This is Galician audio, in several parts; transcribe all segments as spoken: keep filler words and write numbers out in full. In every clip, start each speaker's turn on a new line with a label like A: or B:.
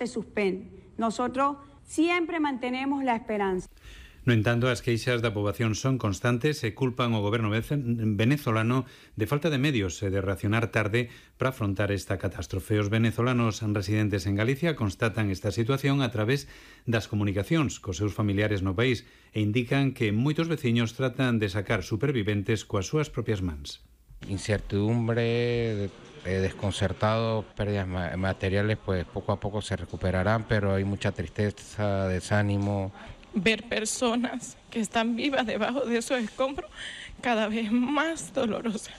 A: se suspende. Nosotros siempre mantenemos la esperanza.
B: No entanto, as queixas da poboación son constantes e culpan o goberno venezolano de falta de medios e de reaccionar tarde para afrontar esta catástrofe. Os venezolanos residentes en Galicia constatan esta situación a través das comunicacións cos seus familiares no país e indican que moitos veciños tratan de sacar superviventes coas súas propias mans.
C: Incertidumbre, eh, desconcertado, pérdidas materiales, pues poco a poco se recuperarán, pero hay mucha tristeza, desánimo.
D: Ver personas que están vivas debajo de esos escombros cada vez más dolorosa,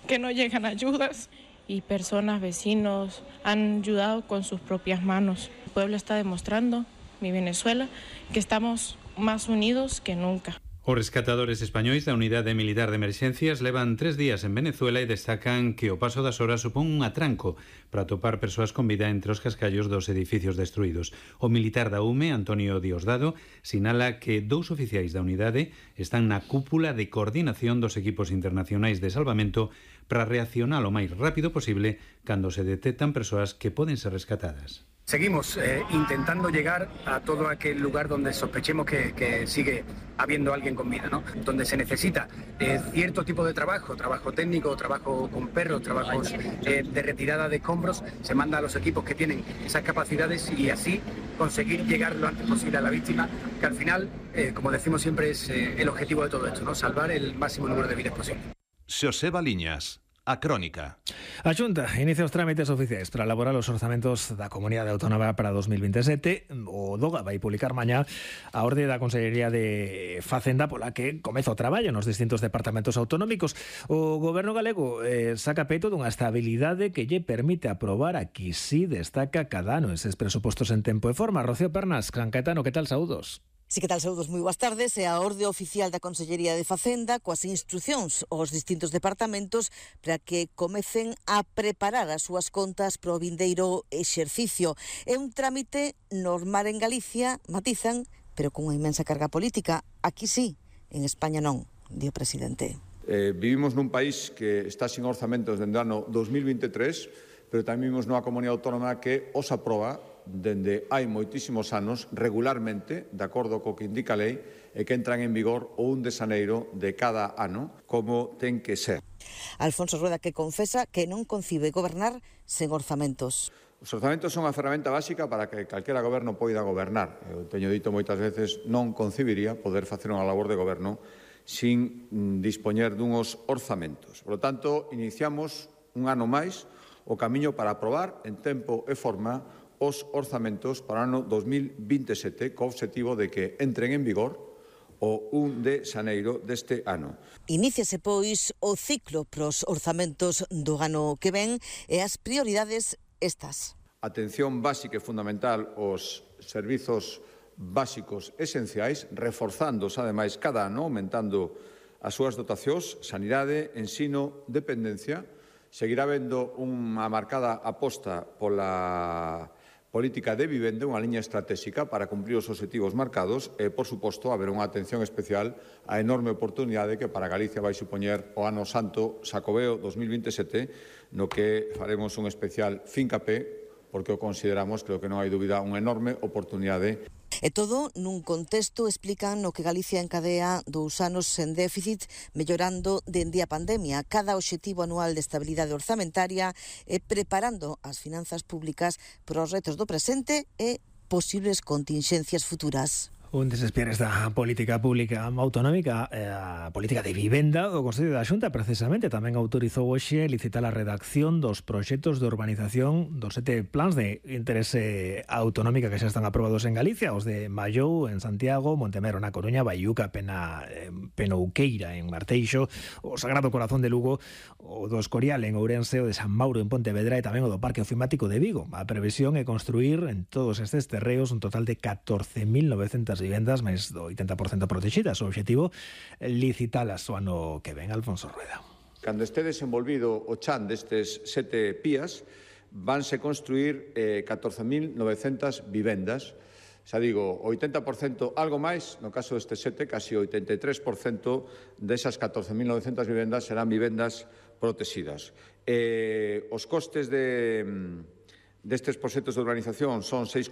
D: que no llegan ayudas. Y personas, vecinos, han ayudado con sus propias manos. El pueblo está demostrando, mi Venezuela, que estamos más unidos que nunca.
B: Os rescatadores españois da Unidade Militar de Emerxencias levan tres días en Venezuela e destacan que o paso das horas supón un atranco para atopar persoas con vida entre os cascallos dos edificios destruídos. O militar da U M E, Antonio Diosdado, sinala que dous oficiais da unidade están na cúpula de coordinación dos equipos internacionais de salvamento para reaccionar o máis rápido posible cando se detectan persoas que poden ser rescatadas.
E: Seguimos eh, intentando llegar a todo aquel lugar donde sospechemos que, que sigue habiendo alguien con vida, ¿no? Donde se necesita eh, cierto tipo de trabajo, trabajo técnico, trabajo con perros, trabajos eh, de retirada de escombros, se manda a los equipos que tienen esas capacidades y así conseguir llegar lo antes posible a la víctima, que al final, eh, como decimos siempre, es eh, el objetivo de todo esto, ¿no? Salvar el máximo número de vidas posible.
F: Xoseba Liñas, A Crónica.
G: A Xunta inicia os trámites oficiais para elaborar os orzamentos da Comunidade Autónoma para dos mil veintesete. O DOGA vai publicar mañá a orde da Consellería de Facenda pola que comeza o traballo nos distintos departamentos autonómicos. O goberno galego eh, saca peito dunha estabilidade que lle permite aprobar, aquí sí destaca cada ano eses presupostos en tempo e forma. Rocío Pernas, San Caetano, que tal, saúdos?
H: Sí, que tal, saúdos, moi boas tardes. E a orde oficial da Consellería de Facenda coas instruccións aos distintos departamentos para que comecen a preparar as súas contas para o vindeiro exercicio. É un trámite normal en Galicia, matizan, pero con unha inmensa carga política. Aquí sí, en España non, di o presidente.
I: Eh, vivimos nun país que está sin orzamentos dende o ano dos mil veintitrés, pero tamén vivimos nunha comunidade autónoma que os aproba dende hai moitísimos anos, regularmente, de acordo co que indica a lei, e que entran en vigor o un de xaneiro de cada ano, como ten que ser.
H: Alfonso Rueda, que confesa que non concibe gobernar sen orzamentos.
I: Os orzamentos son a ferramenta básica para que calquera goberno poida gobernar. Eu teño dito moitas veces, non concibiría poder facer unha labor de goberno sin dispoñer dunhos orzamentos. Por lo tanto, iniciamos un ano máis o camiño para aprobar en tempo e forma os orzamentos para o ano dos mil veintesete co obxectivo de que entren en vigor o un de xaneiro deste ano.
H: Iníciase, pois, o ciclo pros orzamentos do ano que ven e as prioridades estas.
I: Atención básica e fundamental aos servizos básicos esenciais, reforzándose, ademais, cada ano, aumentando as súas dotacións, sanidade, ensino, dependencia. Seguirá habendo unha marcada aposta pola política de vivenda, unha liña estratégica para cumprir os obxectivos marcados e, por suposto, haber unha atención especial á enorme oportunidade que para Galicia vai supoñer o Ano Santo Xacobeo dos mil veintesete, no que faremos un especial fincapé, porque o consideramos, creo que non hai dúbida, unha enorme oportunidade.
H: E todo nun contexto, explican, no que Galicia encadea dous anos sen déficit, mellorando dende a pandemia cada obxectivo anual de estabilidade orzamentaria e preparando as finanzas públicas para os retos do presente e posibles continxencias futuras.
G: Un desespieres da política pública autonómica, a política de vivenda, o Consello da Xunta precisamente tamén autorizou hoxe licitar a redacción dos proxectos de urbanización dos sete plans de interese autonómica que xa están aprobados en Galicia, os de Mallou en Santiago, Montemero na Coruña, Baiuca, Pena, Penouqueira en Marteixo, o Sagrado Corazón de Lugo, o do Escorial en Ourense, o de San Mauro en Pontevedra e tamén o do Parque Ofimático de Vigo. A previsión é construir en todos estes terreos un total de catorce mil novecentas vivendas, máis do oitenta por cento protegidas. O obxectivo, licitalas o ano que ven. Alfonso Rueda.
I: Cando este desenvolvido o chan destes sete pías, vanse construir eh, catorce mil novecentas vivendas. Xa digo, oitenta por cento, algo máis, no caso deste sete, casi oitenta e tres por cento desas catorce mil novecentas vivendas serán vivendas protegidas. Eh, os costes de, destes proxectos de urbanización son seis